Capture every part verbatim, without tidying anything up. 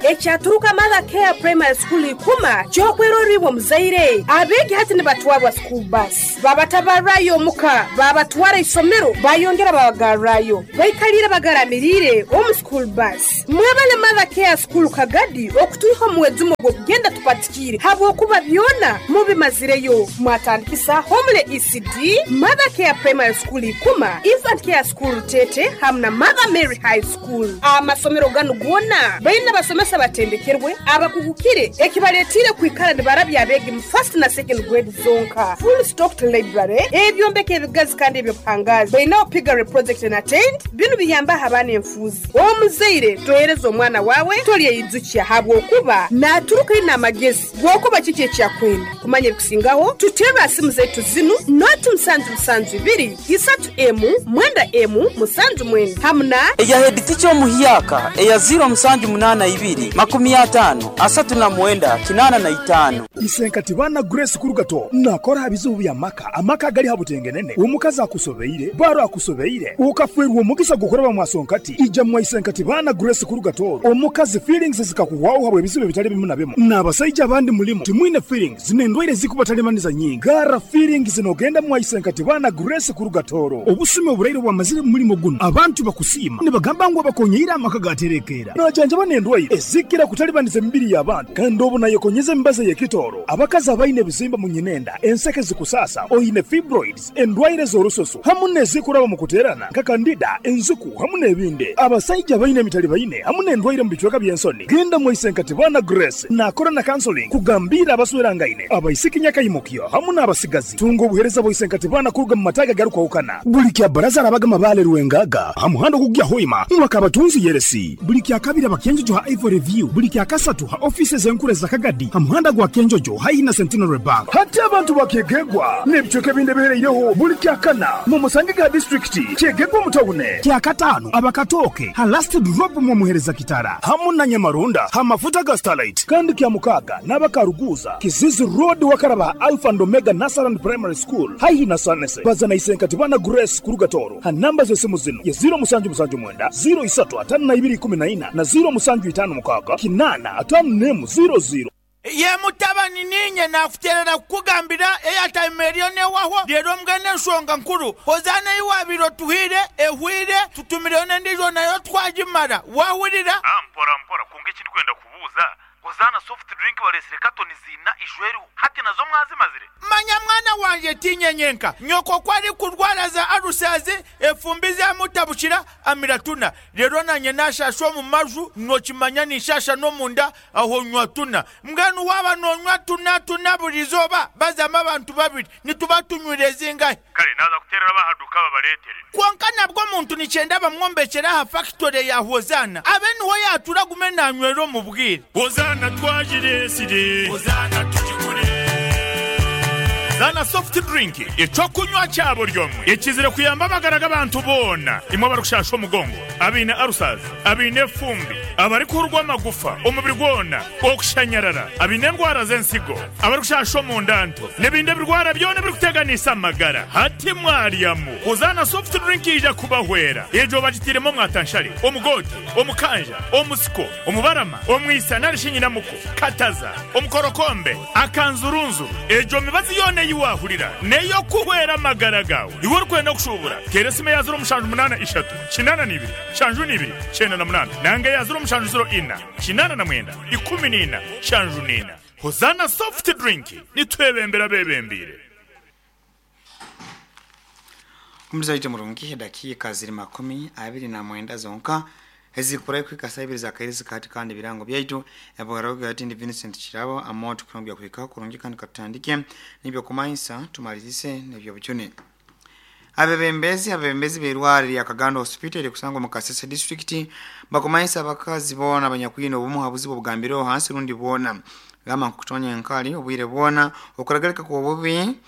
Ekyaturuka Mother Care Primary School ikuma kyokweroribwa muzaire abeegi hati nibatwarwa school bus babatabarayo omuka babatwara isomero bayongera babagarrayo baikalire bagaramirire omu school bus. Mwebale Mother Care School Kagadi okutwiha omuwezumo gw'okugenda tupatikire habwokuba byona mubimazireyo. Mwatandikisa Homele E C D, Mother Care Primary School ikuma, Infant Care School Tete hamwe na Mother Mary High School. Amasomero ganu gona baina basomesa batendekerwe abakugukire ekibaletire kwikara nibarabya abegi mu first na second grade zonka. Full stocked library ebyombeko ebigazi kandi ebyo pangazi baina piggery project na tent binu biyamba abana enfuzi. Omuzaire tohereza omwana wawe tolyeyizukia habwokuba naturuka ina amagezi gwokuba kiki ekyakwenda kumanya ebikusingaho. Tutera simu zetu zinu noti musanju musanju ibiri isatu emu mwenda emu musanju mwenda hamna eya head teacher omuhyaka eya zero musanju munana ibiri makumi atano asatu na mwenda kinana na itano. Isenkati bana Grace Kurugato nakora bizubu bya maka amaka gali habutengenene omukazi akusobeire baro akusobeire ukafwerwa omugisa gukora bamwasonkati ija mwa Isenkati bana Grace Kurugato omukazi feelings zikakuwaho habwe bizubu bitali bimu na bimu n'abasajja abandi mulimo timwine feelings nendwaire zikubatalibaniza nyingi gara feelings nogenda mwa Isenkati bana Grace Kurugatoro obusume oburaire bwamazire mulimo guno abantu bakusima nibagamba ngo bakonyeira amaka gaterekera najanja banendwaire ezikira kutalibaniza emibiri y'abantu kandi obu nayekonyeza embaza y'ekitoro abakazi abaine ebizimba mu nyinenda enseke zikusasa oine fibroids endwaire z'orusoso hamu n'ezikuraba mu kuterana nka kandida enzuku hamu n'ebindi abasajja baine emitali baine hamu n'endwaire mu bicweka by'ensoni. Genda mu Isenkati bana Grace nakora na counseling kugambira abaswerangaine abaisiki nyakayimukyo hamu n'abasigazi tunga obuhereza bwa Isenkati bana kuruga mu mataga garukwahukana buli kya baraza arabagama bale Rwengaga hamuhando kugya hoima mwakabatunzi yeresi buli kya kabiri abakenjojo ha Ivory View buli kya kasatu ha offices enkure za Kagadi hamuhanda gwa Kenjojo haina Centenary Bank hati abantu bakegegwa n'ebicweka ebindi bihereireho buli kya kana mu musange ga district kyegegwa mutawune kya katano abakatoke ha last drop mu muhereza kitara hamu na Nyamarunda ha mafuta ga Starlight kandi kya mukaga n'abakaruguza Kizizi Road wakaraba Alpha and Omega Nasaran Primary School haihi na Sanese bazana Isenkati bana Grace Kurugatoro ha namba z'esimu zino ya zero musanju musanju mwenda zero isatu atano na ibiri kumi na ina na zero musanju itano mukaga kinana atano nemu zero zero. Ye mutabani ninye nakuterera kukugambira eyatime eriyo newaho rero mbwene ensonga nkuru hozana iwabiro tuhire ehwire tutumireyo n'endijo nayo twagimara wahurira. Ah, mpora mpora kunga ekindi kwenda kubuuza hozana soft drink balesire katoni zina ijweru hati nazo mwazimazire. Manya mwana wanje tinyenyenka nyoko kwari kurwara za arusazi efumbi zamutabukira amiratuna rero nanye nashasha mu maju nokimanya nishasha no munda aho nywa tuna mbwenu waba nonywa tuna tuna burizoba bazama abantu babiri nituba tunywire zingahe. Kale naza kuterera bahaduka babaletere konka nabwo muntu nicyenda bamwombekera ha factory ya Hozana abe niho yatura gume nanywero mu bwire. Hozana twajiresire Hozana tujikure Zana soft drink ecokunywa cyabo ryomwe ekizire kuyamba amagara g'abantu bona imwe barushasha omugongo abine arusaza abine fumbi abari kurwa amagufa omubiri gwona okushanyarara abine endwara z'ensigo abarushasha omundanto n'ebindi birwara byona birikuteganisa amagara hati mwaryamu. Hozana soft drink ija kubahwera ejo bagitiremo mwatanshari omugote omukanja omusiko omubarama omwisa narishinyinamuko kataza omukorokombe akanzurunzu ejo mibazi yone yiwahurira neyo kuhwera amagara gawe iwe urikwenda kushubura teresime ya zero mushanju munana ishatu kinana nibiri shanju nibiri cyenda na munana nange ya zero mushanju zero ina kinana na mwenda ikumi nina shanju nina. Hozana soft drink nitwebembera bebembire. Kumzaita murungi dakika ziri makumi abiri na mwenda zonka ezikurayo kwikasa ibiri za kairizi kati kandi birango byaitu ebogarago ati ndi Vincent Kirabo amoto kunombya kwika kurungi kandi katandike nibyo kumainsa tumalizise nibyo buchune. Abebembezi abebembezi berwari ya Kagando Hospital kusangwa mu Kasese District bakumainsa abakazi bona abanyakwino obumu habuzibo bugambiro hansi rundi bona gama kutonya enkali obwire bona okuragalika ku obubi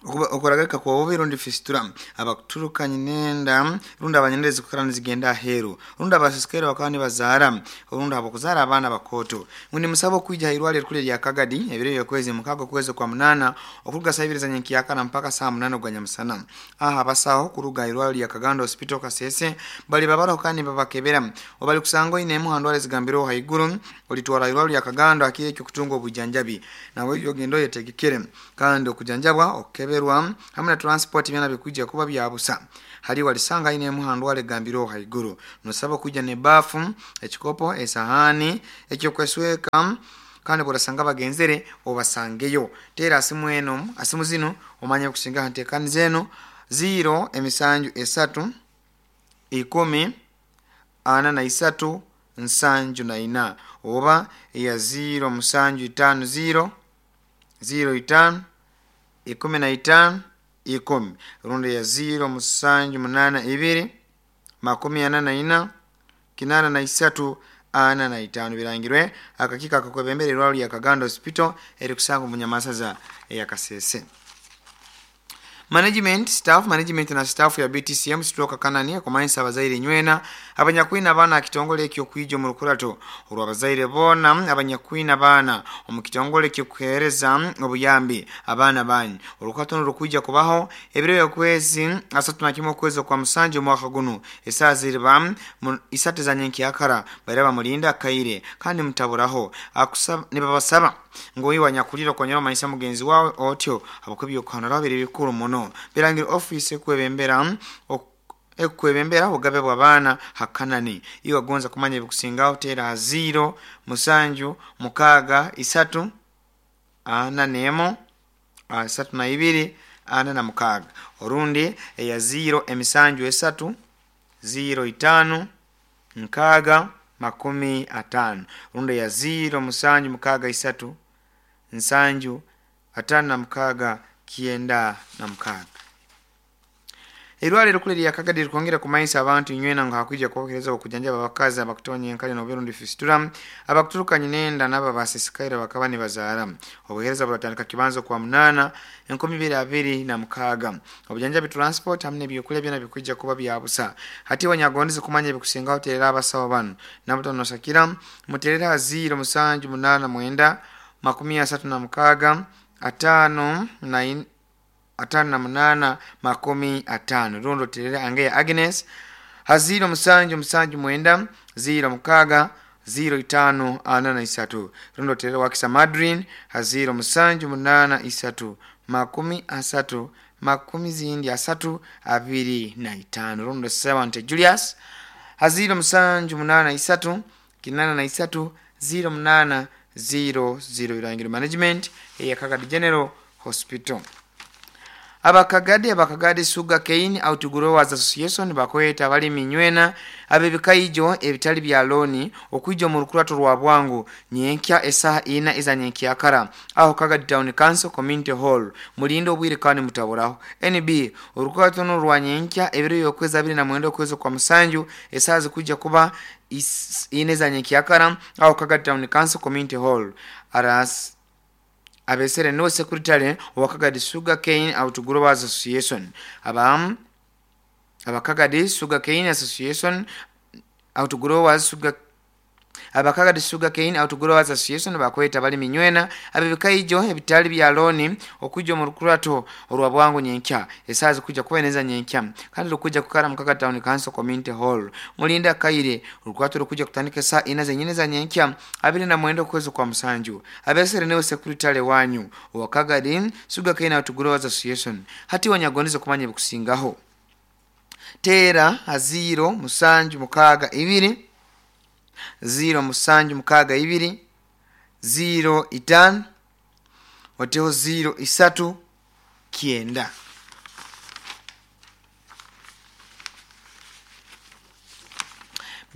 Okuragika kwa bubi rundi fistula, abakuturuka nyinenda rundi abanyendezi kukara nizigenda aheru, rundi abasisikere bakaba nibazaara, rundi abakuzaara abaana bakoto. Ngundi musabo kwija irwaliro kule lya Kagadi ebiro byokwezi mukago kwezi kwa munana okuruga saa ibiri za nyenkiyakara mpaka saa munana ogwa nyamusana. Aha abasaho kuruga irwaliro lya Kagando Hospital Kasese bali babaraho kandi babakebera obali kusanga oine emu handwara ezigambirweho haiguru olitwara irwaliro lya Kagando akire ekyo kutunga obujanjabi nawe ogenda oyetegekere kandi okujanjabwa okukeberwa hamwe na transport byana bikujja kuba byabusa. Hali walisanga ine muhandwale gambiro haiguru nosaba kuja ne bafu, ekikopo, esahani ekyo kwesweka kandi burasanga bagenzere obasangeyo. Tera asimu eno asimu zino omanye kusinga hantekani zeno zero emisanju esatu ikumi ana na isatu nsanju na ina oba ya zero musanju itano zero zero itano ikumi na itano ikumi rundi ya zero musanju munana ibiri makumi ana na ina kinana na isatu ana na itano. Birangirwe akakika akakwebembere irwaliro lya Kagando Hospital eri kusanga omunyamasaza ya Kasese. Management staff management na staff ya B T C M stroke kanani akomanisa abazaire nywena abanyakwina abaana kitongole ekyo kwijo mu rukurato olwa abazaire bona abanyakwina abaana omu kitongole ekyo kuhereza obuyambi abaana banyu. Orukurato rukuija kubaho ebiro byokwezi asatu na kimwe okwezi kwa musanju omwaka guno esaaha ziriba isatu za nyenkiyakara baraba mulinda kaire kandi mutaburaho akusaba nibabasaba ngo iwa nyakulira konyera manisa mugenzi wawe otyo abakubyo kanara biri bikuru muno. Birangira office kwebembera ekwebembera obugabe bw'abaana hakanani. Iwa gonza kumanya ebikusingaho tera zero musanju mukaga isatu ana nemo asatu na ibiri ana na mukaga orundi eya zero emisanju esatu zero itano nkaga makumi atano rundi ya zero musanju mukaga isatu nsanju atano na mukaga kienda na mukaga. Irwaliro kule lya Kagadi likwongera kumayisa abantu nywena nga hakuija kubokereza okujanjaba abakazi abakutonya enkali n'oburundi fistula abakuturuka nyinenda n'aba basisikaire bakaba nibazaara. Obuhereza buratandika kibanzo kwa munana enkumi ibiri abiri na mukaga. Obujanjabi transport hamwe n'ebyokulya byona bikuija kuba byabusa. Hati wanyagondeze kumanya ebikusingaho terera abasawo bano nabutono nosakira muterera zero musanju munana mwenda makumi asatu na mukaga atano na in, atano na munana makumi atano. Rundo terera angeya Agnes haziro musanju musanju mwenda zero mukaga zero itano ana na isatu. Rundo terera wakisa Madrin haziro musanju munana isatu makumi asatu makumi zindi asatu abiri na itano. Rundo seven Julius haziro musanju munana isatu kinana na isatu zero munana zero zero. Irangiro management ya Kagadi General Hospital. Abakagadi abakagadi Sugar Cane Outgrowers Association bakweta bali minywena abebikaijo ebitali bya loni okwijo mu rukurato rwa bwangu nyenkya esaha ina iza nyenkyakara aho Kagadi Town Council Community Hall mulindo obwire kandi mutaboraho. N B orukurato no rwa nyenkya ebiro yokwezi abiri na mwenda okwezi kwa musanju esaha zikuja kuba ine za nyenkyakara aho Kagadi Town Council Community Hall. Aras abesere no secretary wa Kagadi Sugar Cane Outgrowers Association abam abakagadi Sugar Cane Association Outgrowers Sugar abakagadi Sugar Cane Outgrowers Association bakweta bali minywena abebikaijo ebitali bya loni okujo mu rukurato olwa bwangu nyenkya esazi kuja kubeneza nyenkya kandi rukuja kukara mu Kagadi Town Council Community Hall mulinda kaire rukurato rukuja kutandika saa ina zenyine za nyenkya abiri na mwendo kwezi kwa musanju. Abesere niwe secretary wanyu wa Kagadi Sugar Cane Outgrowers Association hati wanyagondeza kumanya bikusingaho tera aziro musanju mukaga ibiri zero musanju mukaga ibiri zero itano wateho zero isatu kienda.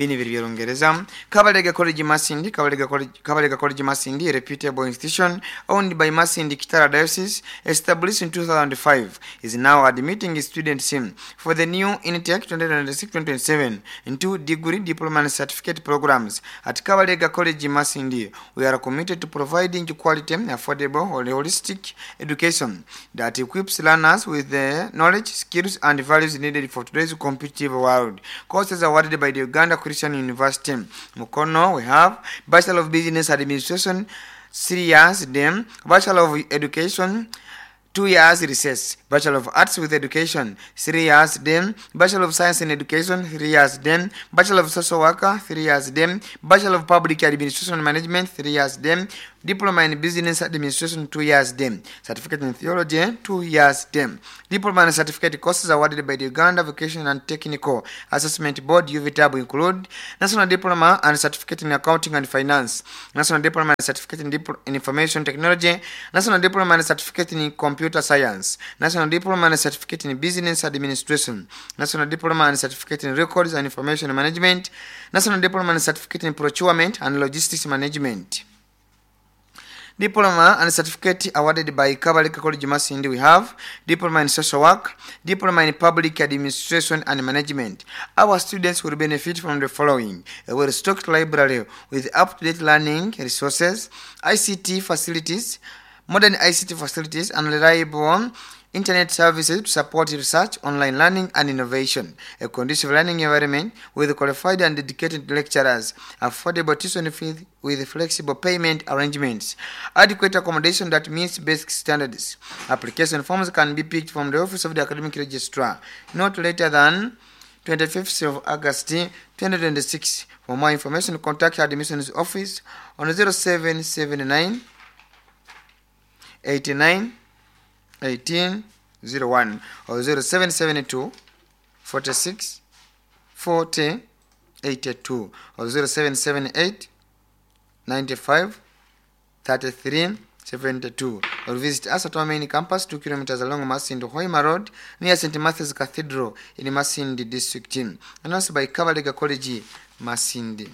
Bini biri by'Olungereza. Kabalega College Masindi, Kabalega College, Kabalega College Masindi, a reputable institution owned by Masindi Kitara Diocese, established in two thousand five, is now admitting students in for the new intake twenty twenty-six twenty twenty-seven into degree, diploma and certificate programs. At Kabalega College Masindi, we are committed to providing quality, affordable, holistic education that equips learners with the knowledge, skills and values needed for today's competitive world. Courses awarded by the Uganda Christian University Mukono, we have Bachelor of Business Administration, three years, then Bachelor of Education, two years recess, Bachelor of Arts with Education, three years, then Bachelor of Science in Education, three years, then Bachelor of Social Worker, three years, then Bachelor of Public Administration and Management, three years, then Diploma in Business Administration, two years, then Certificate in Theology, two years, then Diploma and Certificate courses awarded by the Uganda Vocational and Technical Assessment Board, U V T A B, include National Diploma and Certificate in Accounting and Finance, National Diploma and Certificate in, Dipl- in Information Technology, National Diploma and Certificate in Computer Science, National Diploma and Certificate in Business Administration, National Diploma and Certificate in Records and Information Management, National Diploma and Certificate in Procurement and Logistics Management. Diploma and certificate awarded by Kabalega College Masindi, we have Diploma in Social Work, Diploma in Public Administration and Management. Our students will benefit from the following: a well-stocked library with up-to-date learning resources, I C T facilities, modern I C T facilities, and reliable internet services to support research, online learning, and innovation, a conducive learning environment with qualified and dedicated lecturers, affordable tuition fees with flexible payment arrangements, adequate accommodation that meets basic standards. Application forms can be picked from the office of the academic registrar not later than twenty-fifth of August twenty twenty-six. For more information, contact admissions office on zero seven seven nine eighty-nine eighteen oh one or zero seven seven two forty-six forty eighty-two or zero seven seven eight ninety-five thirty-three seventy-two, or visit us at our main campus, two kilometers along Masindi Hoima Road, near Saint Matthew's Cathedral in Masindi District. Announced by Kabalega College Masindi.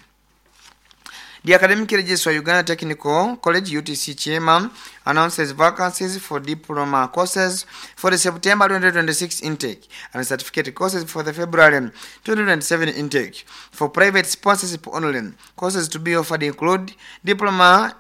The Academic Registrar, Uganda Technical College U T C Kyema, announces vacancies for diploma courses for the September twenty twenty-six intake and certificate courses for the February twenty twenty-seven intake. For private sponsorship only, courses to be offered include Diploma,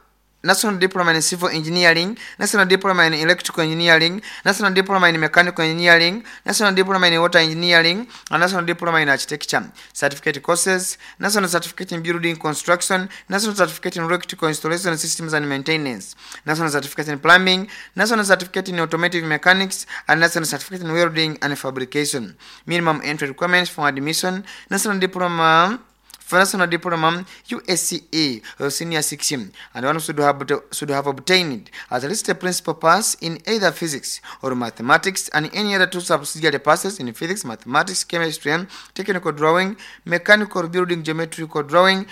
National Diploma in Civil Engineering, National Diploma in Electrical Engineering, National Diploma in Mechanical Engineering, National Diploma in Water Engineering, and National Diploma in Architecture. Certificate courses: National Certificate in Building Construction, National Certificate in Electrical Installation Systems and Maintenance, National Certificate in Plumbing, National Certificate in Automotive Mechanics, and National Certificate in Welding and Fabrication. Minimum entry requirements for admission: National Diploma for National Diploma, U S C E or Senior six, and one should have, should have obtained at least a principal pass in either physics or mathematics and any other two subsidiary passes in physics, mathematics, chemistry, technical drawing, mechanical building, geometrical drawing,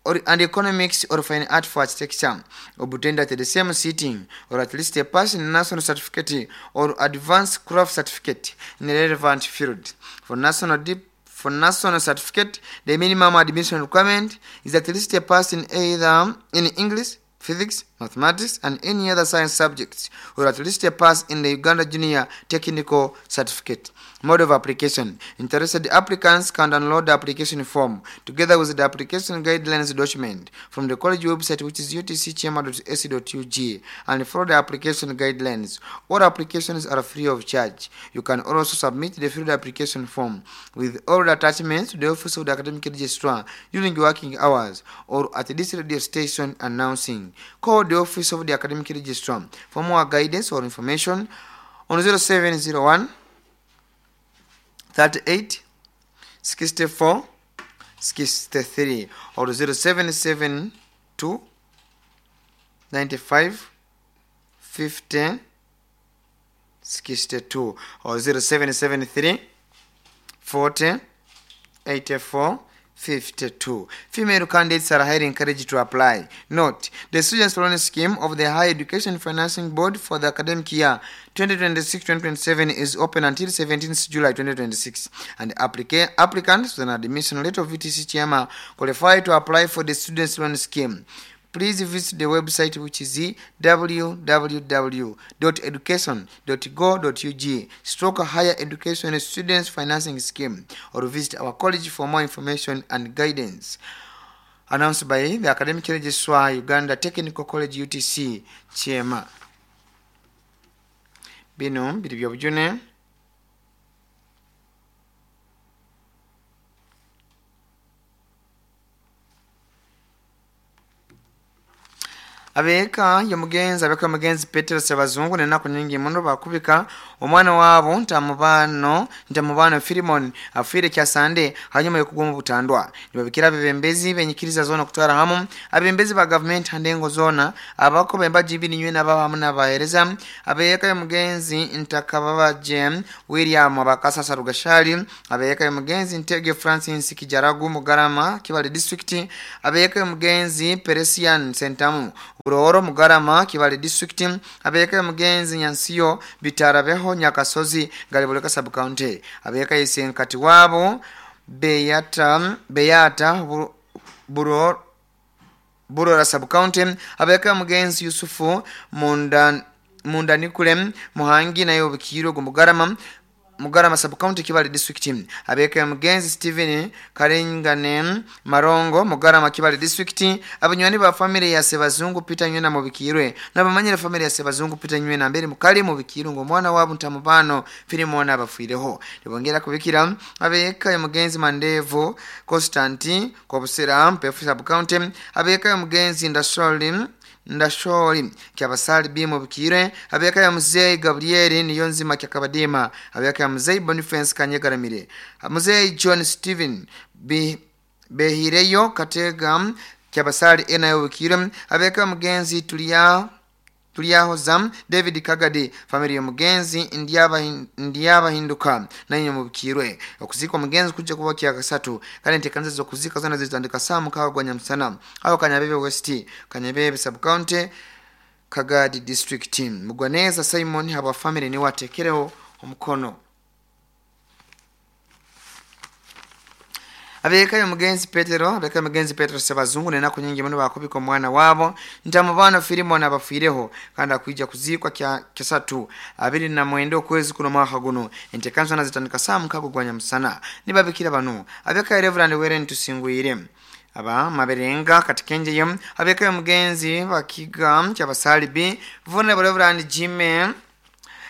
or, and economics or fine art for architecture, obtained at the same sitting, or at least a pass in national certificate or advanced craft certificate in the relevant field. For national dip for national certificate, the minimum admission requirement is at least a pass in either in English, physics, mathematics, and any other science subjects, or at least a pass in the Uganda Junior Technical Certificate. Mode of application. Interested applicants can download the application form together with the application guidelines document from the college website, which is U T C kyema dot A C dot U G, and follow the application guidelines. All applications are free of charge. You can also submit the filled application form with all the attachments to the office of the academic registrar during working hours or at this radio station announcing. Call the office of the academic registrar for more guidance or information on zero seven zero one thirty-eight sixty-four sixty-three or zero seven seven two ninety-five fifty sixty-two or zero seven seven three forty eighty-four. fifty-two. Female candidates are highly encouraged to apply. Note, the Students' Loan Scheme of the Higher Education Financing Board for the academic year twenty twenty-six twenty twenty-seven is open until seventeenth July twenty twenty-six, and applica- applicants with an admission letter of U T C Kyema qualify to apply for the Students' Loan Scheme. Please visit the website, which is w w w dot education dot go dot u g stroke higher education students financing scheme, or visit our college for more information and guidance. Announced by the Academic Registrar, Uganda Technical College U T C Kyema. Bino biri byobujune. Abeka yomugenzi abeka yomugenzi Petero Sebazungu nenaku nyingi muno bakubika omwana wabo ntamubano ntamubano Filimon afire kya Sande hanyuma yokugoma butandwa. Nibabikira abebembezi benyikiriza zona kutwara hamu abembezi ba government handengo zona abako bemba jibini nywe nababa hamu nabahereza. Abeka yomugenzi Ntakababaje William abakasasa Rugashali. Abeka yomugenzi Ntege Francis Kijaragu Mugarama Kibale District. Abeka yomugenzi Peresian Sentamu Buroro Mugarama Kibale District. Abeka mugenzi Nyansiyo Bitarabeho Nyakasozi Galiboleka Sub County. Abeka Isenkati wabo Beyata Beyata Buroro Burora Sub County. Abeka mugenzi Yusufu Munda Mundanikule Muhangi nayo Bikiro Mugarama Mugarama Sub County Kibale District. Abeka mugenzi Steven Karengane Marongo Mugarama Kibale District. Abanywani ba family ya Sebazungu Peter Nywena mubikirwe nabamanyira family ya Sebazungu Peter Nywena mbere mukali mubikirwe ngo mwana wabo ntamubano Filimona abafireho. Nibongera kubikira abeka ya mugenzi Mandevo Constantine Kobusera Mpefu Sub County. Abeka ya mugenzi Ndasholi Ndashori Kyabasali bimo bikire. Abeka ya mzee Gabriel Niyonzima Kyakabadima. Abeka ya mzee Boniface Kanyegaramire. Mzee John Steven Be, Behireyo Katega Kyabasali enayo bikire. Abeka mugenzi Tulia Tuliaho Zam David Kagadi family ya mugenzi Ndiaba Ndiaba Hinduka nanyo mubikirwe. Okuzikwa mugenzi kujja kuba kya kasatu kandi ntekanza zo kuzika zona zitandika saa mukaga gwa Nyamusana aho Kanyabebe West Kanyabebe Sub County Kagadi District. Mugwaneza Simon haba family ni watekereho omukono. Abeka ya mugenzi Petero, abeka mugenzi Petero Sebazungu nenaku nyingi muno bakubika omwana wabo ntamubano Filimon abafireho kandi akuija kuzikwa kya kesatu abiri na mwenda okwezi kuno mwaka guno. Entekanzo nazitandika saa mukago gwa Nyamusana. Nibabikira bano abeka Reverend Weren Tusingwire aba maberenga katikenje yem. Abeka ya mugenzi bakiga kyabasali B Vulnerable Reverend Jimmy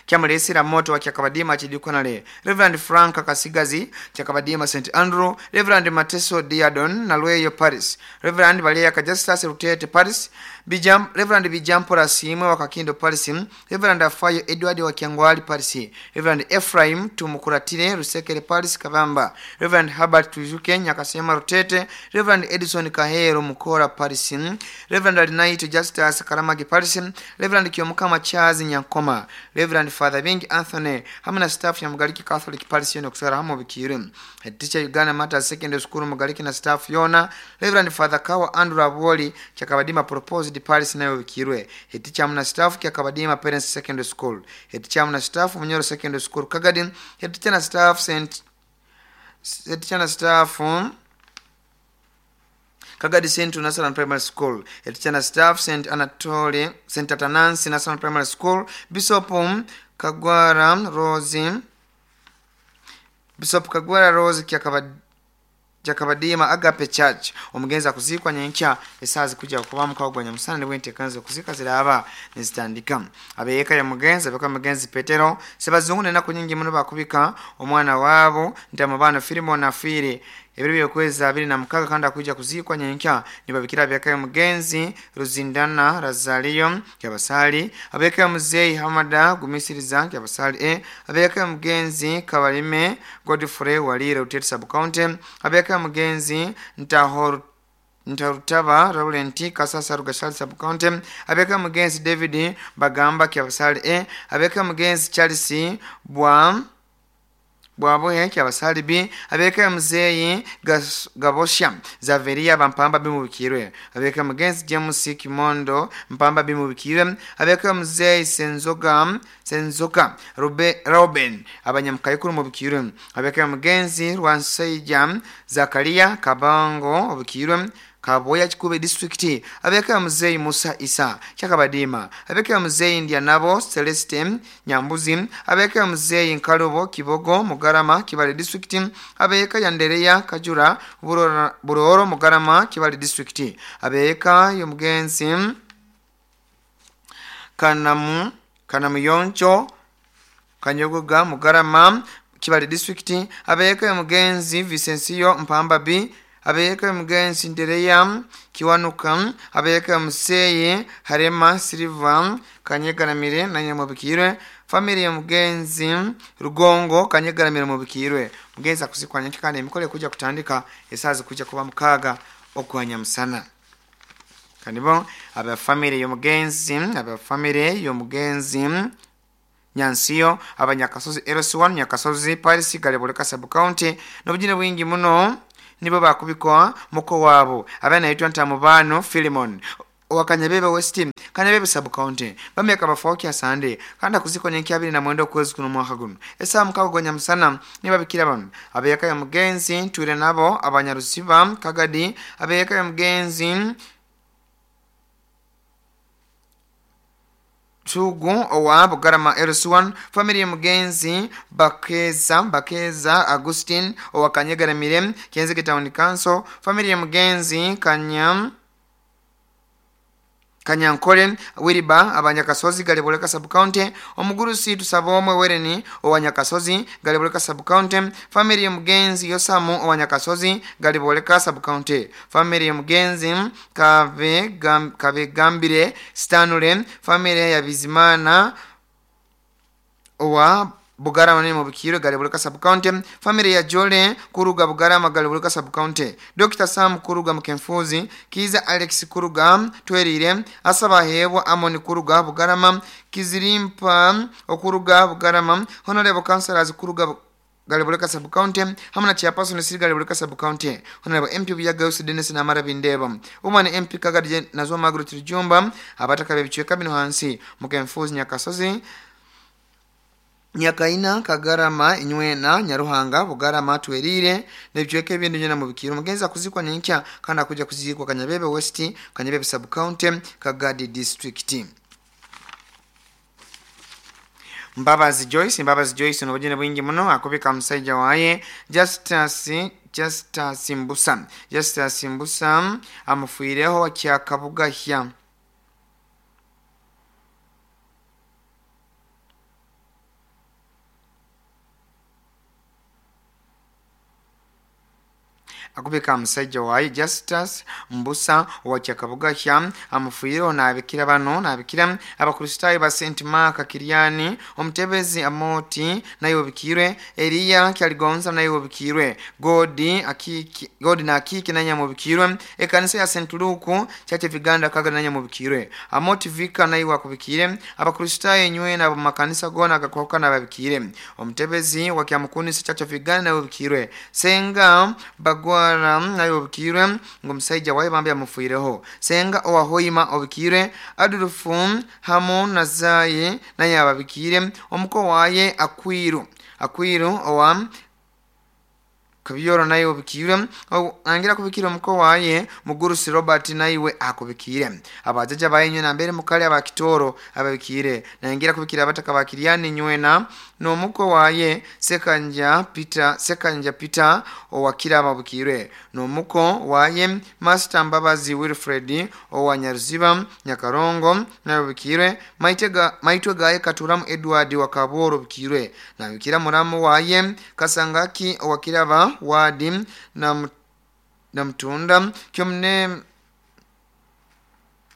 Kyamulesera moto wa Kyakabadima Chidikonale, Reverend Frank Kasigazi Kyakabadima Saint Andrew, Reverend Mateso Diadon Nalweyo Paris, Reverend Baleya Kajastas Rutete Paris, Bijam, Reverend Bijampora Simwe wa Kakindo Paris, Reverend Afayo Edward wa Kyangwali Paris, Reverend Ephraim Tumukuratire Rusekere Paris Kabamba, Reverend Herbert Tujuke Nyakasema Rutete, Reverend Edison Kahero Mukora Paris, Reverend Alinaito Justus Karamagi Paris, Reverend Kiyomukama Charles Nyankoma, Reverend Father Bingi Anthony hamwe na staff ya Mugaliki Catholic Parish yona kusara hamwe bikire. Head teacher Uganda Matters Secondary School Mugaliki na staff yona, Reverend Father Kawa Andrew Aboli Kyakabadima Proposed Parish nayo bikirwe. Head teacher hamwe na staff Kyakabadima Parents Secondary School, head teacher hamwe na staff Munyoro Secondary School Kagadi, head teacher na staff Saint head teacher na staff um, Kagadi Central National Primary School, head teacher na staff Saint Anatole Saint Atanansi National Primary School, Bishop Kagwara Rose Bishop Kagwara Rose Kyakabad Kyakabadima Agape Church. Omugenzi akuzikwa nyenkya esazi kuja kuba mukago gwa Nyamusana nibwe entekanzo kuzika ziraba nezitandika. Abeyeka ya mugenzi abeka mugenzi Petero Sebazungu nenaku nyingi muno bakubika omwana wabo ntamubano Filimon afire ebiro byokwezi abiri na mukaga kandi akuja kuzikwa nyenkya. Nibabikira abeka ya mugenzi Ruzindana Razaliyo Kyabasali, abeka ya muzeyi Hamada Gumisiriza Kyabasali e abeka ya mugenzi Kabalime Godfrey Walire Utete Sub County, abeka ya mugenzi Ntahor Ntarutaba Laurenti Kasasa Rugashali Sub County, abeka mugenzi David Bagamba Kyabasali e abeka mugenzi Charles Bwa Bwabohe kyabasalibi abeka muzeyi Gabosha Zaveria bampamba bimubikirwe abeka mugenzi James Kimondo mpamba bimubikirwe abeka muzeyi Senzoga Senzoka Rube, Robin abanyamukayikuru mubikirwe abeka mugenzi Rwansaija Zakaria Kabango obikirwe Kaboya Kikube district abeka muzeyi Musa Isa Kyakabadima abeka muzeyi Ndianabo Celeste Nyambuzi abeka muzeyi Nkalubo Kibogo Mugarama Kibale district abeka Yandereya Kajura Buroro, Buroro Mugarama Kibale district abeka yomugenzi Kanamu Kanamuyoncho Kanyogoga Mugarama Kibale district abeka yomugenzi Vicencio Mpamba B abeka mugenzi Ndereya Kiwanuka abeka museye Harema Silva Kanyegaramire na Nyamubikirwe family ya mugenzi Rugongo Kanyegaramire mubikirwe mugenzi akuzikwanya kandi emikole kuja kutandika esazi kuja kuba mukaga okwanya musana kanibo aba family ya mugenzi aba family ya mugenzi Nyansiyo abanyakasozi L C one Nyakasozi Paris Galeboleka sub county n'obujine bwingi muno nibo bakubikwa muko wabo abana yitwa Ntamubano Philemon wakanyabebe West Kanyabebe sub county bameka bafoki asande kanda kuzikonya kyabiri na mwendo kwezi kuno mwaka guno esa mukagonya musana niba bikira bano abeka ya mugenzi twire nabo abanyarusiba Kagadi abeka ya mugenzi Tugu owa Bugarama L C one family mugenzi Bakeza Bakeza Augustine owa Kanyegaramire Kenzige Town Council family mugenzi Kanyam Kanyankole Wiriba abanyakasozi Galeboleka sub county omugurusi tusabomwe wereni owanyakasozi Galeboleka sub county family mugenzi Yosamu owanyakasozi Galeboleka sub county family mugenzi Kave Gam, Kave Gambire Stanule family ya Bizimana owa Bugarama ni mubikiro Galeboleka sub county family ya Jole Kuruga Bugarama Galeboleka sub county Doctor Sam Kuruga Mkemfuzi Kiza Alex Kuruga Twerire Asaba Hewa Amoni Kuruga Bugarama Kizirimpa Okuruga Bugarama Honorable Councillors Kuruga Galeboleka sub county hamna chairperson siri Galeboleka sub county Honorable M P Byaga Dennis na Mara Bindeba Woman M P Kagadi Nazwa Margaret Rujumba abataka bebichweka bino hansi Mkemfuzi Nyakasozi Nyakaina Kagarama Inywena Nyaruhanga Bugarama Twerire nebichweke ebindu nyena mubikiro mugenza kuzikwa ninkya kana kuja kuzikwa Kanyabebe West Kanyabebe sub county Kagadi district Mbabazi Joyce Mbabazi Joyce n'obujene bwingi muno akubika musajja waye Justus Justus Mbusa Justus Mbusa amufuireho kyakabugahya akubika musajja waye Justus Mbusa wa kyakabugahya amufuireho n'abikira bano n'abikira abakristayo ba Saint Mark Kiriani omutebezi Amoti nayo bikirwe Elia Kyaligonza nayo bikirwe Godi akiki Godi na akiki nanya mubikirwe ekanisa ya Saint Luke Church of Uganda kaga nanya mubikirwe Amoti Vika nayo akubikire abakristayo nywe na makanisa gona agakoka nababikire omutebezi wa Kyamukuni Church of Uganda nayo bikirwe Senga Bagwa nayo bikirwe ngo musajja waye bambi amufuireho Senga owahoima obikirwe Adolfu hamo nazaye naye ababikire omuko waye Akwiru Akwiru owa Kabiyoro naye obikirwe angira kubikira omuko waye Mugurusi Robert naiwe akubikire abajaja bayenywe na mbere mukali abakitoro ababikire nangira kubikira abataka bakiriani nywena no muko waye Sekanja Peter Sekanja Peter owakira ababikire no muko waye Master Mbabazi Wilfred owanyaruziba Nyakarongo nabikire maitega maitwe gaye Katuramu Edward wakaboro bikirwe nabikira muramu waye Kasangaki owakiraba wadi na na mtunda kyomne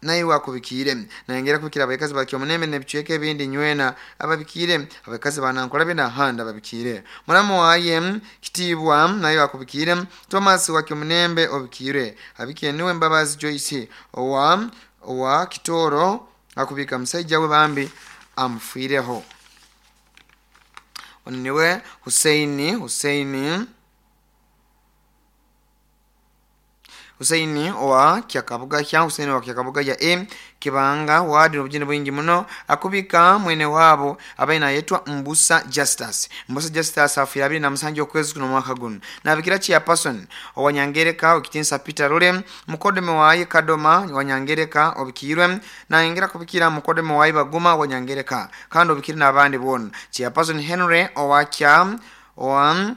naye wakubikire nangera kubikira abakazi bakyomuneme nebichweke ebindi nywena ababikire abakazi banankola bina handa babikire muramu waye Kitibwa naye wakubikire Thomas wakyomunembe obikire abikire niwe Mbabazi Joyce owa owa Kitoro akubika musajja we bambi amufireho. Niwe Huseini Huseini Huseini owa Kyakabuga kya Huseini wa Kyakabuga ya e Kibanga wadi n'obujini bwingi muno akubika mwene wabo abaina yetwa Mbusa Justus. Mbusa Justus afira abiri na musanju okwezi kuno mwaka guno. Nabikira chairperson owa Nyangereka okitinsa Peter Rule mukodeme wayi Kadoma wa Nyangereka obikirwe na ingira kubikira mukodeme wayi Baguma wa Nyangereka kandi obikiri n'abandi bona. Chairperson Henry owa Kya owa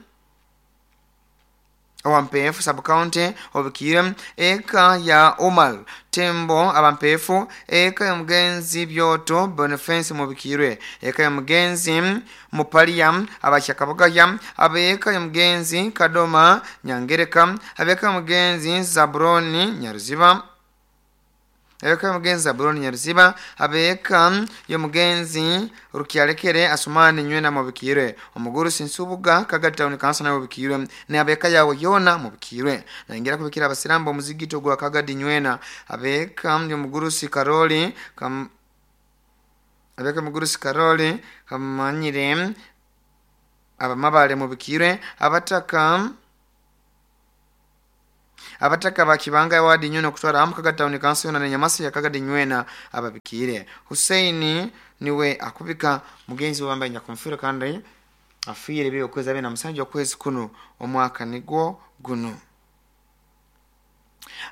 Owampefu sub-county obikire eka ya Omal Tembo abampefu eka ya mugenzi Byoto Boniface mubikirwe eka ya mugenzi Mupaliam abachakabugaya abeka ya mugenzi Kadoma Nyangereka abeka ya mugenzi Zabroni Nyaruziba abeka ya mugenzi Zabroni Nyaruziba abeka ya mugenzi Rukyalekere Asumani Nywena mubikirwe omuguru Sinsubuga Kagati Town Council na mubikirwe ne abeka yawo yona mubikirwe na ingira kubikira abasirambo muzigito gwa Kagati Nywena abeka ya muguru Sikaroli kam abeka muguru Sikaroli kamanyire abamabale mubikirwe abataka abataka bakibanga wadi nyono kutwara amu Kagati Town Council na nyamasi ya Kagati Nywena ababikire. Huseini niwe akubika mugenzi wambaye nyakumfira kandi afire byo kweza bena musanju okwezi kuno omwaka nigwo guno.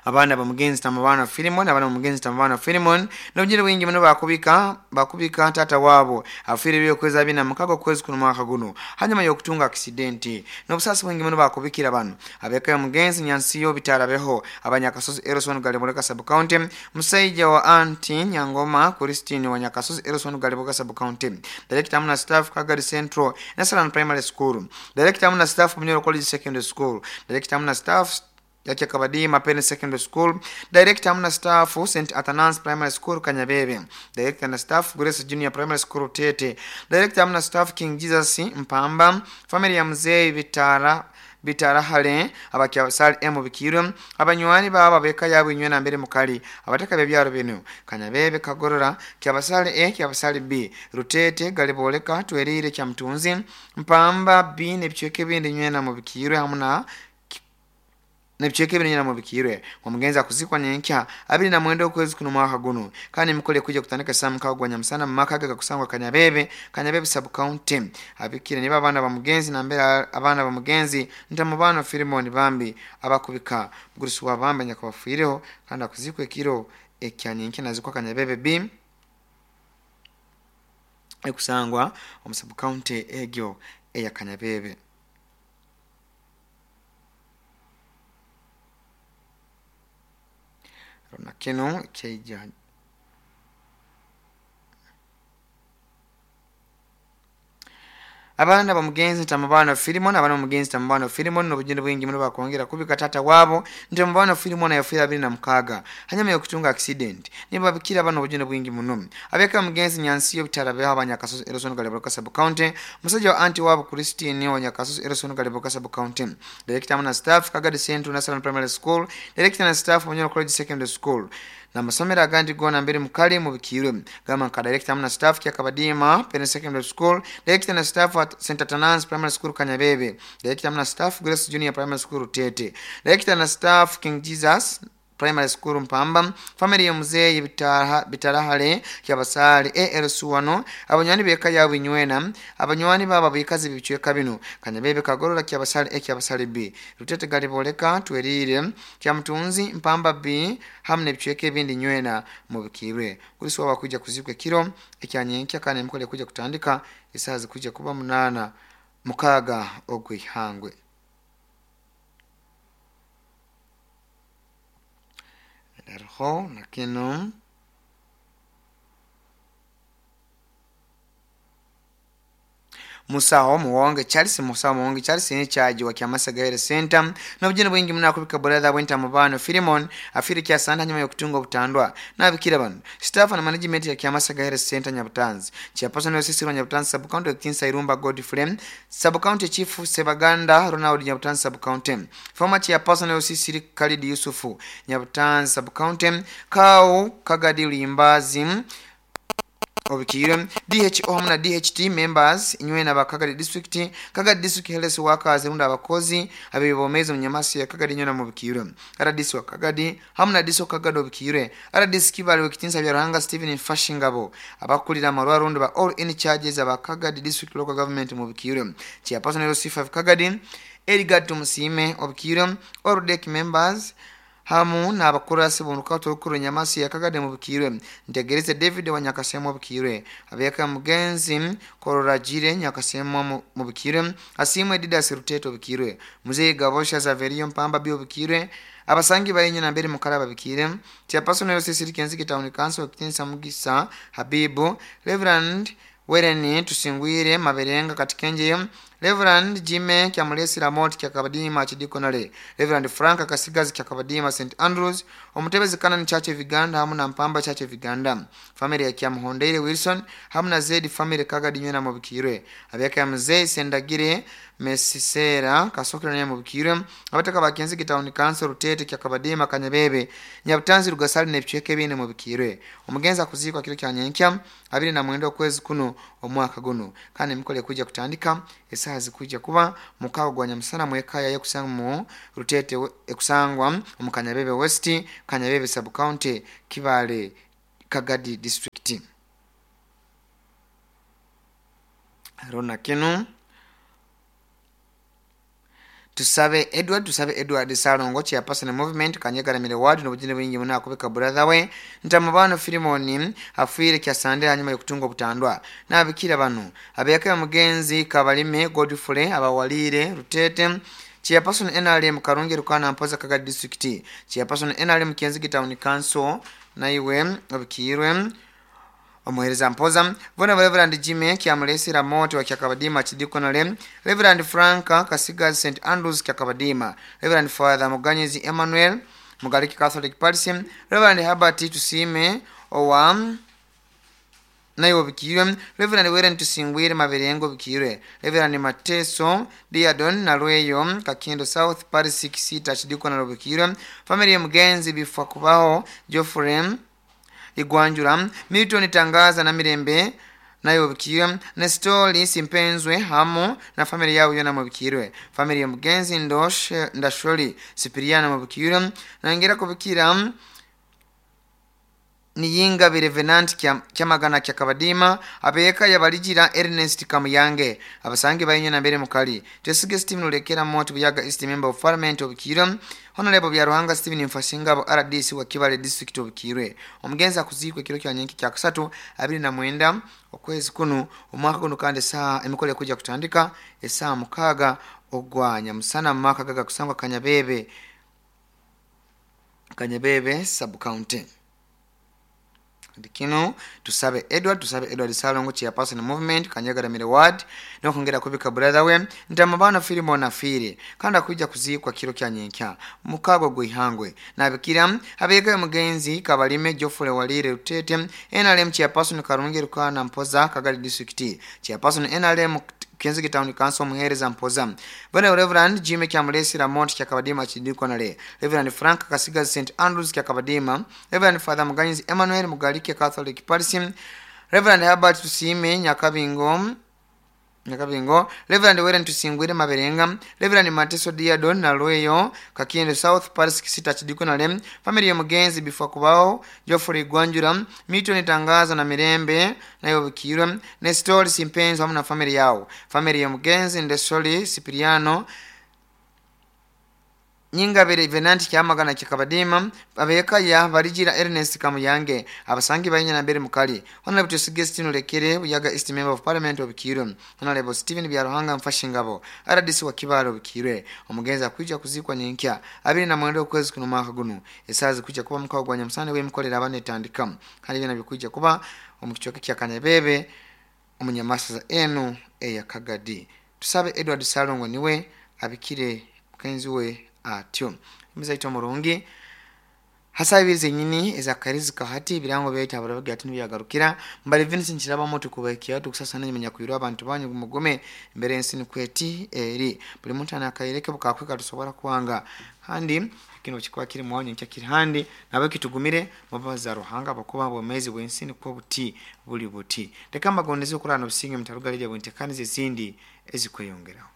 Abana ba mugenzi tamabana Filimon abana mugenzi tamabana Filimon n'obujiri bwingi muno bakubika bakubika tata wabo afire byo kweza bina mukago kwezi kuno mwaka guno hanyuma yokutunga accident n'obusasi bwingi muno bakubikira bano abeka ya mugenzi Nyansiyo bitarabeho abanyakasozi Erison Galiboleka sub county musaija wa anti Nyangoma Christine wa Nyakasozi Erison Galiboleka sub county director amuna staff Kagadi Central National Primary School director amuna staff Munyoro College Secondary School director amuna staff Yakia Kabadi Mapene Secondary School director amuna staff Saint Athanasius Primary School Kanyabebe director na staff Grace Junior Primary School Tete director amuna staff King Jesus Mpamba family ya mzee Bitara Bitara hale abakyasali emu bikirwe abanywani baba beka yabo inywena mbere mukali abataka bebyaro bino Kanyabebe Kagorora kyabasali A kyabasali B Rutete Galiboleka Twerire kya Mtunzi Mpamba B nebichweke bindi nywena mu bikirwe hamuna nebichweke bindi nywena mu bikirwe omugenzi akuzikwa nyenkya abiri na mwendo okwezi kuno mwaka guno kandi mukole kuja kutandika samu kagwanya musana mumaka ga kusangwa Kanyabebe Kanyabebe sub county abikire niba abana ba mugenzi na mbere abana ba mugenzi ntamubano Filimon bambi abakubika mugurusi wa bambe nyakabafireho kandi akuzikwe kiro ekyanyenkya nazikwa Kanyabebe B ekusangwa omu sub county egyo eya Kanyabebe. Na kino keija abana ba mugenzi tamabana Filimon abana mugenzi tamabana Filimon n'obujini bwingi muno bakongera kubika tata wabo ntamabana Filimon yafira abiri na mukaga hanyuma yokutunga accident niba bikira abana obujini bwingi muno abeka mugenzi Nyansiyo bitarabeho abanyakasozi Erison Galiboleka sub county musajja wa anti wabo Christine wa Nyakasozi Erison Galiboleka sub county director na staff Kagadi Central National Primary School director na staff Munyoro College Secondary School na masomero agandi gona mbere mukali mubikirwe gama nka director na staff kya Kabadima Pen Secondary School director na staff at Saint Athanasius Primary School Kanyabebe director na staff Grace Junior Primary School Tete director na staff King Jesus Primary School Mpamba family ya mzee bitara bitarahale kyabasali A L Suwano abanywani beka yabo inywena abanywani baba bikazi bichweka bino Kanyabebe Kagorora kyabasali A kyabasali B Rutete Galiboleka Twerire kya Mtunzi Mpamba B hamne bichweke bindi nywena mubikirwe kuliswa wakuja kuzikwe kiro ekyanyenkya kane mukole kuja kutandika isazi kuja kuba munana mukaga ogwihangwe. Darho nakino Musaho Muwonge Charles Musaho Muwonge Charles ni chaji wa Kyamasaga Health Center n'obujini bwingi muno akubika brother wenta mubano Filimon afiri kyasanda nyuma yokutunga obutandwa nabikira bano staff na management ya Kyamasaga Health Center Nyabutanzi chairperson wa Nyabutanzi sub county Kinsa Irumba Godfrey sub county chief Sebaganda Ronald Nyabutanzi sub county former chairperson wa Sisiri Khalid Yusufu Nyabutanzi sub county Kau Kagadi Limbazi Obikire D H O hamwe na D H T members inywena ba Kagadi district, Kagadi district health workers runda abakozi abibomeza mu nyamasi ya Kagadi nyona mu bikire R D C wa Kagadi hamwe na D C Kagadi obikire R D C Kibale wekitinsa bya Ruhanga Steven Mfashingabo abakulira amarwa rundi ba all in charges aba Kagadi district local government mu bikire chairperson L C five Kagadi Edgar Tumusime obikire all deck members hamu n'abakurasi bunruka torukuru nyamasi ya Kagadi mu bikirwe ntegereze David wa Nyakasemo bikirwe abeka mugenzi Kororajire Nyakasemo mu bikirwe asimwe Didas Ruteto bikirwe muzee Gabosha Zaverio Mpamba bio bikirwe abasangi bayenye na mbere mukaraba bikire chairperson L C C Kenziki Town Council Kitinsa Mugisa Habibu Reverend Wereni Tusingwire Maberenga Katikenje Reverend Jime Kyamulesi Ramot Kyakabadima Chidikonale Reverend Frank Kasigazi Kyakabadima Saint Andrews Omutebezi Kanani Church of Uganda hamu na Mpamba Church of Uganda family ya Kyamuhondeire Wilson hamu na Zedi family Kagadi nywena mubikirwe abeka ya Mzee Sendagire Mesisera Kasokera nywena mubikirwe abataka ba Kenziki Town Council Rutete Kyakabadima Kanyabebe Nyabutanzi Rugasali nebichweke bine mubikirwe omugenza kuzikwa kiro kya nyenkya abiri na mwenda okwezi kuno omwaka guno kandi mikole kuja kutandika esaha zikuja kuba mukago gwa nyamusana mwekaya yekusanga mu Rutete ekusangwa mu Kanyabebe West Kanyabebe Sub County Kibale Kagadi District. Rona kinu Tusabe Edward Tusabe Edward Salongo chairperson movement Kanyegara ward n'obujine bwingi muna akubeka brother we ntamubano Filimoni afuire kyasande hanyuma yokutunga obutandwa nabikira bano abeyaka mugenzi Kabalime Godfrey abawalire Rutete chairperson N R M Karungi Rukana Mpoza Kagadi District chairperson N R M Kenzigi Town Council naiwe obikirwe omuhereza Mpoza vona Reverend Jimmy Kyamulesi Ramoto wa Kyakabadima Chidikonale Reverend Frank Kasigazi Saint Andrews Kyakabadima Reverend Father Muganyizi Emmanuel Mugaliki Catholic Parish Reverend Herbert Tusime owa naiwe bikirwe Reverend Weren Tusingwire Maberengo bikirwe Reverend Mateso Diadon Nalweyo Kakindo South Parish Kisita Chidikonale bikirwe family Mugenzi bifwa kubaho Geoffrey Igwanjura Milton Tangaza na Mirembe nayo bikirwe Nestori Simpenzwe hamu na family yao yona mubikirwe family ya Mugenzi Ndoshe Ndasholi Sipiriana mubikirwe nangera kubikira Niyinga Revenant Kyamagana Kyakabadima abeka yabalijira Ernest Kamuyange abasangi bayenye na mbere mukali Tesige Steven Ulekera Moto Buyaga East Member of Parliament of Kirwe Honorable Byaruhanga Steven Mfashingabo R D C wa Kibale District of Kirwe omugenza kuzikwe kiro kya nyenki kya kusatu abiri na mwenda okwezi kuno omwaka guno kandi saa emikole kuja kutandika esaa mukaga ogwanya musana maka gaga kusangwa Kanyabebe Kanyabebe Sub County. Kino Tusabe Edward Tusabe Edward Salongo chairperson movement Kanyagara Mire ward nokongera kubika brother we ntamabano Filimon afire kandi akuja kuzikwa kiro kya nyenkya mukago gwihangwe nabikira abeka mugenzi Kabalime Geoffrey Walire Rutete N R M chairperson Karungi Rukana Mpoza Kagadi District chairperson N R M Kenzigi Town Council Muhereza Mpoza Bwana Reverend Jimmy Kyamulesi Ramont Kyakabadima Chidikonale Reverend Frank Kasigazi Saint Andrews Kyakabadima Reverend Father Muganyizi Emmanuel Mugalike Catholic Parish Reverend Herbert Tusime Nyakabingo Nyakabingo Reverend Weren Tusingwire Maberenga Reverend Mateso Diadon Nalweyo Kakindo South Parish Kisita Chidikonale family ya Mugenzi bifwa kubao Geoffrey Gwanjura Milton Tangaza na Mirembe nayo bikirwe Nestor Simpenzo hamwe na family yao family ya Mugenzi Ndesoli Sipiriano Nyingabere Venanti Kyamagana Kyakabadima abeka ya balijira Ernest Kamuyange abasangi bayinya na mbere mukali Honorable Tusige Stephen Lekere Buyaga East Member of Parliament of Kirwe Honorable Steven Byaruhanga Mfashingabo R D C wa Kibalo Bikirwe omugenza kuja kuzikwa nyenkya abiri na mwendo okwezi kuno mwaka guno esazi kuja kuba mukago gwa nyamusane we mukolera abane tandika kandi byana bikuja kuba omukichoke kya Kanyabebe omunyamasa enu eya Kagadi Tusabe Edward Salongo niwe abikire mukenzi we atyo imizaito murungi hasa ibize nyini ezakarizi kahati birango byaita abarabaga ati nibiyagarukira mbali Vincent Kiraba moto kubakia tukusasa nanya kuyirwa abantu banyu mugome imbere ensini kweti eri buli muntu anakaireke bukakweka tusobora kwanga kandi Kino kikuba kiri mwanyu nkya kiri handi nabe kitugumire mubaza Ruhanga bakuba bwemezi bwensi niko buti buli buti. Reka mbagondeze okurana obusinge mutarugalije bwentekanize ezindi ezikweyongeraho.